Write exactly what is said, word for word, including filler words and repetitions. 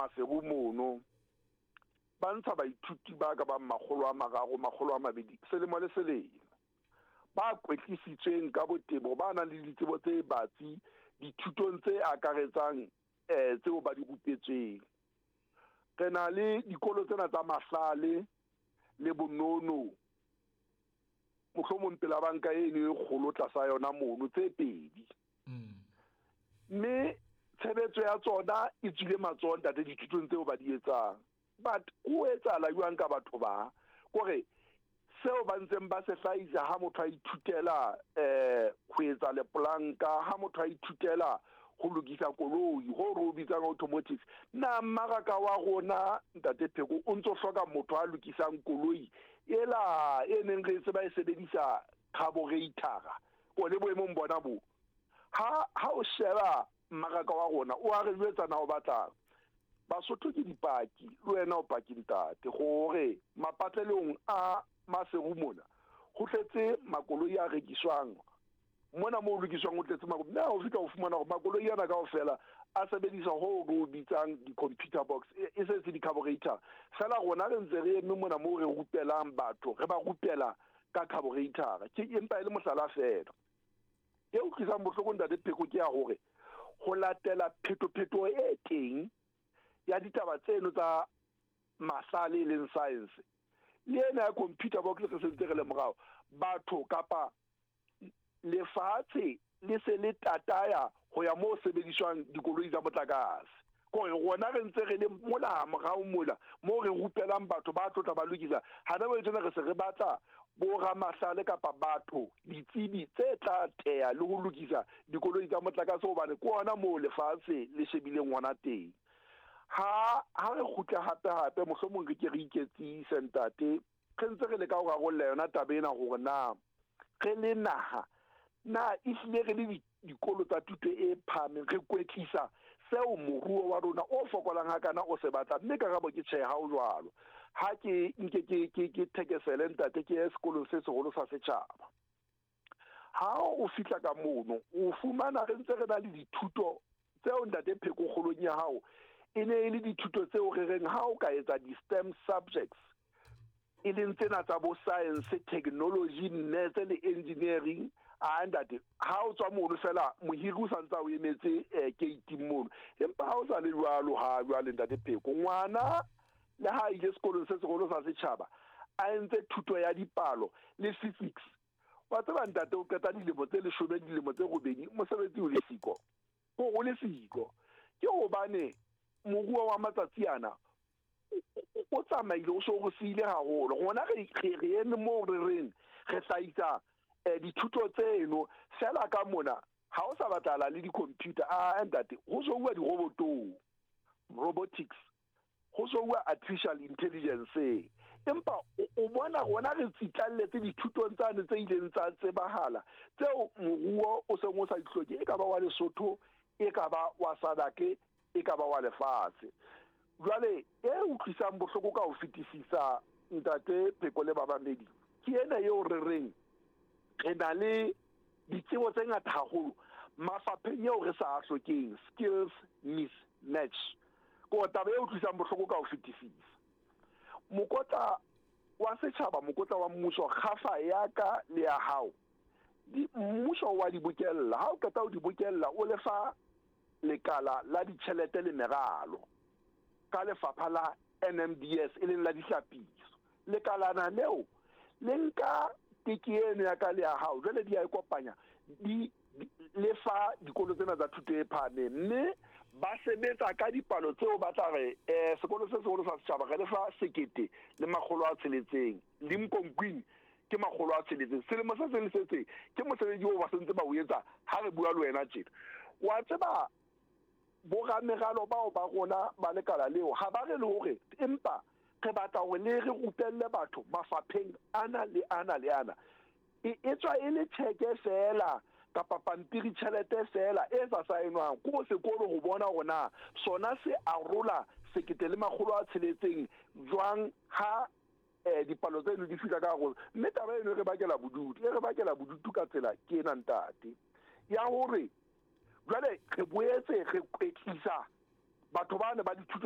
Maseru mono ba ntsha baithuti ba ka bang makgolo a mararo, makgolo a mabedi selemo le selemo, ba kwetlisitsweng ka botebo, ba nang le ditsebo tse batsi dithutong tse akaretsang eh tseo ba di rupetsweng. Re na le dikolo tsena tsa mahlale le bonono, mohlomong pela banka eno e kgolo tlasa yona mono, tse pedi. Mme tshebetso ya tsona e tswile matsoho ntate dithutong tseo ba di etsang. But ho etsahala jwang ka batho ba? Kore seo ba ntseng ba se hlahisa ha motho a ithutela eh ho etsa lepolanka, ha motho a ithutela ho lokisa koloi, ho re o bitsang automotive, na mmaraka wa rona ntate Pheko o ntso hloka motho a lokisang koloi ela e neng re se ba e sebedisa carburetor o le boemong bona bo? Ha ha o sheba mmaraka wa rona o a re jwetsa na o batlang. Basotho ke dipaki, le wena o paki ntate, hore mapatlelong a Maseru mona ho tletse makoloi a rekiswang mona, moo lokiswang ho tletse makoloi. Mme ha o fihla o fumana hore makoloi ana kaofela a sebedisa ho re o bitsang di-computer box, e se se di-carburetor. Feela rona re ntse re eme mona moo re rupelang batho, re ba rupela ka carburetor. Ke empa e le mohlala feela. E utlwisang bohloko ntate Pheko ke ya hore ho latela phetophetoho e teng ya ditaba tseno tsa mahlale e leng science, le ena ya computer box re sentse re le morao. Batho kapa lefatshe le se le tataya ho ya moo sebediswang dikoloi tsa motlakase. Kore rona re ntse re le mola morao mola moo re rupelang batho ba tlotla ba lokisa. Hana jwale tjena re se re batla bo ramahlale kapa batho ditsebi tse tla teya le ho lokisa dikoloi tsa motlakase, hobane ke ona moo lefatshe le shebileng hona teng. Ha ha re kgutla hape hape mohlomong re ke re iketsise ntate, re ntse re leka ho rarolla yona taba ena hore na re le naha na ehlile re le dikolo tsa thuto e phahameng re kwetlisa seo moruo wa rona o fokolang hakana o se batla. Mme karabo ke tjhe, ha o jwalo. Ha ke nke ke ke ke thekesele ntate, ke ye sekolong se seholo sa setjhaba. Ha o fihla ka mono o fumana re ntse re na le dithuto tseo ntate Pheko kgolong ya hao e ne e le dithuto tseo re reng ha o ka etsa di-STEM subjects, e leng tsena tsa bo science, technology, maths le engineering, a ntate ha o tswa mono fela mohiri o sa ntse a o emetse gate mono. Empa ha o sa le jwalo ha jwale ntate Pheko, ngwana le ha ile sekolong se seholo sa setjhaba a entse thuto ya dipalo le physics, wa tseba ntate o qeta dilemo tse leshome, dilemo tse robedi, mosebetsi o le siko, o le siko. Ke hobane moruo wa matsatsi ana o tsamaile, o so re siile haholo. Rona re re eme moo re reng re hlahisa dithuto tseno fela ka mona ha o sa batlahala le di-computer. A ntate ho so bua dirobotong, robotics, ho so bua artificial intelligence. Empa o bona rona re tsitlalletse dithutong tsane tse ileng tsa tsebahala tseo moruo o seng o sa di hloke, e ka ba wa Lesotho, e ka ba wa Sadake, e ka ba wa lefatshe. Jwale e utlwisang bohloko ka ho fetisisa ntate Pheko le babamedi ke ena eo re reng re na le ditsebo tse ngata haholo mafapheng eo re sa a hlokeng, skills mismatch. Ko taba e utlwisang bohloko ka ho fetisisa. Mokotla wa setjhaba, mokotla wa mmuso, kgafa ya ka le ya hao, di mmuso wa di bokella. Ha o qeta ho di bokella, o lefa lekala la ditjhelete le meralo ka lefapha la N M D S e leng la dihlapiso. Lekalana leo le nka teke eno ya ka le ya hao, jwale di a e kopanya, di lefa dikolo tsena tsa thuto e phahameng, mme ba sebetsa ka dipalo tseo ba tla re eh sekolo se seholo sa setjhaba re lefa sekete le makgolo a tsheletseng, Limkokwing ke makgolo a tsheletseng selemo se seng le se seng. Ke mosebetsi oo ba sentse ba o etsa ha re bua le wena tjena. Wa tseba borameralo bao ba rona ba lekala leo ha ba re le hore empa re batla hore le re rupelle batho mafapheng ana le ana le ana, e tswa e le tjheke feela kapa pampiri tjhelete feela e sa saenwang ko sekolo ho bona hore na sona se arola sekete le makgolo a tsheletseng jwang ha eh dipalo tseno di fihla ka hare. Mme taba eno e re bakela bodutu, e re bakela bodutu ka tsela ke ena ntate ya hore jwale re boetse re kwetlisa batho bana ba dithuto